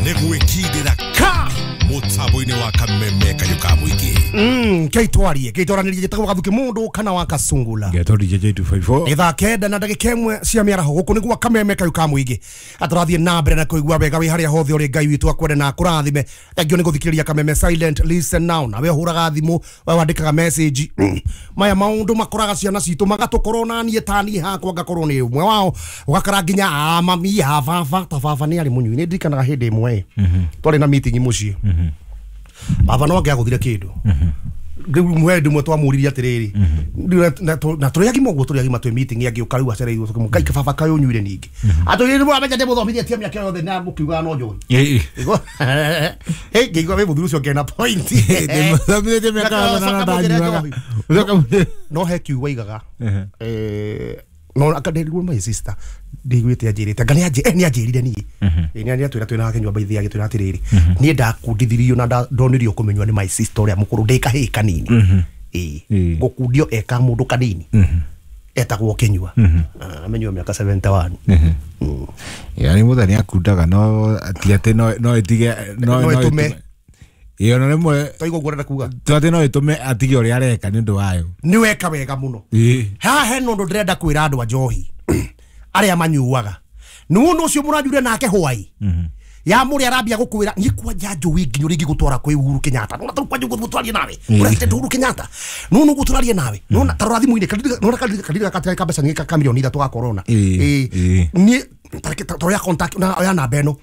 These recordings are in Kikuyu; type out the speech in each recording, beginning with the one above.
Nĩ gwĩkindĩra ka mũtambo-inĩ wa Kameme Kayũ ka Mũingĩ. Keitwarie keitwaranĩrie njĩtagwo Gathuki mũndũ kana wa Kasungula. Ngetwo DJ 254. Nĩ thaa 9 na ndagĩka 1 cia mĩaraho gũkũ nĩguo Kameme Kayũ ka Mũingĩ. Atũrathiĩ na mbere na kũigua wega wĩ harĩa hothe ũrĩ. Ngai witũ akwende na akũrathime. Thengiũ nĩ gũthikĩrĩria Kameme Silent Listen Now. Nawe ũhũraga thimũ, we wandĩkaga message. Maya maũndũ makoraga ciana citũ magatũkorwo na niĩ ta niĩ hakwa ngakorwo nĩ ũmwe wao. Ũgakora nginya a mami a baba ta baba nĩ arĩ mũnyui. Nĩ ndirikanaga hĩndĩ ĩmwe twarĩ na meeting mũciĩ. Baba no angĩagũthire kĩndũ. Rĩu mwendũ mwe twamũririe atĩrĩrĩ, na tũrĩ agima ũguo, tũrĩ agima twĩ meeting angĩũka rĩu acereirwo tũkĩmũ ngai baba kaĩ ũnyuire ningĩ. Atũrĩrĩ mũramenya ndĩmũthomithĩtie mĩaka yothe na mũkiugaga no njohi. Hey, ngĩigua wĩ mũthuri ũcio ngena point. Ndĩmũthomithĩtie mĩaka yothe na ndanyuaga. No he kiugo aigaga. No akandirigwo my sister ndiguĩte anjĩrĩte anga nĩ anjĩrire niĩ. Nĩ atwĩra twĩna nake nyũmba ithiĩ agĩtwĩra atĩrĩrĩ, niĩ ndakundithirio na ndonirio kũmenywa nĩ my sister ũrĩa mũkũrũ ndĩ kahĩĩ kanini. Gũkundio eka mũndũ kanini etagwo Kĩnyua. Amenyua mĩaka 71. Yani mũthenya nĩ akundaga no ti atĩ no ĩtige no ĩtũme. Ĩyo na rĩmwe twaigua ũguo ũrenda kuga to atĩ no ĩtũme atige ũrĩa areka nĩ ũndũ wayo. Nĩ weka wega mũno. Haha hena ũndũ ndĩrenda kwĩra andũ a njohi arĩa manyuaga. Nĩ ũndũ ũcio mũranyuire nake hwai. Ya mũrĩa arambia gũkwĩra niĩ kwanja njũĩ nginya ũrĩa ingĩgũtwara kwĩ Uhuru Kenyatta. Nona tarĩu kwanja ũguo nawe. President Uhuru Kenyatta. Nona ũguo tũrarie nawe. Nona tarora thimũ-inĩ nona kadiri gaka ka mbeca nyingĩ ka milioni 3 ga corona. Niĩ toya contact na oya namba ĩno.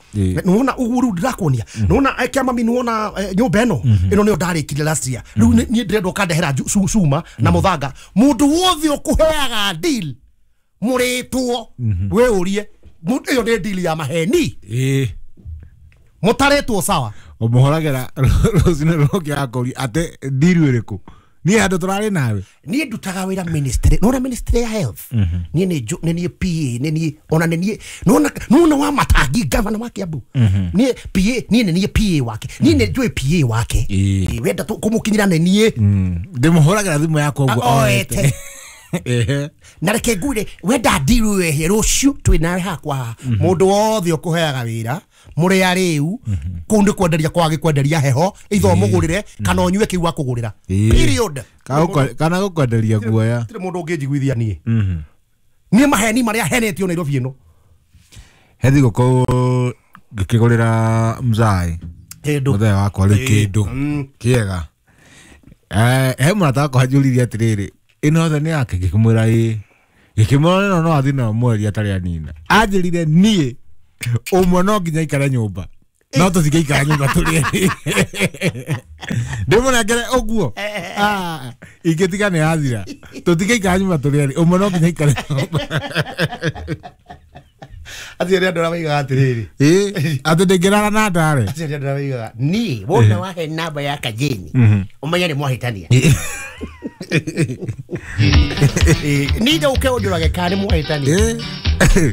Nona ũguo rĩu ndĩrakuonia. Nona kĩa mami nona nyũmba ĩno. Ĩno nĩyo ndarĩkirie last year. Rĩu niĩ ndĩrenda ũkandehera cuma na mũthanga. Mũndũ wothe ũkũheaga deal mũrĩtwo we ũrie ĩyo nĩ deal ya maheni. Mũtarĩtwo sawa. Ũmũhũragĩra rũcinĩ rũngĩ akũria atĩ deal ĩrĩkũ? Niĩ handũ tũrarĩ nawe. Niĩ ndutaga wĩra ministry. Nona ministry ya health. Niĩ nĩ PA, nĩ niĩ ona nĩ niĩ nona wa Matangi governor wa Kiambu. Niĩ PA, niĩ nĩ niĩ PA wake. Niĩ nĩ njũĩ PA wake. Wenda kũmũkinyĩra nĩ niĩ. Ndĩmũhũragĩra thimũ yakwa ũguo oete. Na reke ngwĩre wenda deal wehe rũciũ twĩ nawe hakwa. Mũndũ wothe ũkũheaga wĩra mũrĩa rĩu kũu nĩ kwenderia kwagĩ kwenderia heho itho mũgũrĩre kana ũnyue kĩu akũgũrĩra. Period. Kana gũkwenderia guoya. Gũtirĩ mũndũ ũngĩnjiguithia niĩ. Niĩ maheni marĩa henetio Nairobi ĩno. He thigũkũ ngĩkĩgũrĩra mzai kĩndũ mũthenya wakwa rĩu kĩndũ kĩega. He mũrata wakwa anjũririe atĩrĩrĩ, ĩno yothe nĩ yake? Ngĩkĩmwĩra ĩĩ. Ngĩkĩmwĩra ĩno no athiĩ nayo mweri atarĩ anina. Anjĩrire niĩ ũmwe no nginya aikare nyũmba. No tũtingĩikara nyũmba tũrĩ erĩ. Ndĩmũnengere ũguo. Ingĩtiga nĩ yathira. Tũtingĩikara nyũmba tũrĩ erĩ. Ũmwe no nginya aikare nyũmba. Acio nĩ andũ arĩa maigaga atĩrĩrĩ. Atĩ ndĩngĩrara na ndare. Acio nĩ andũ arĩa maigaga niĩ wona wahe namba ya Kajeni ũmenye nĩ mwahĩtania. Niĩ ndũke ũnjũrage kana nĩ mwahĩtania.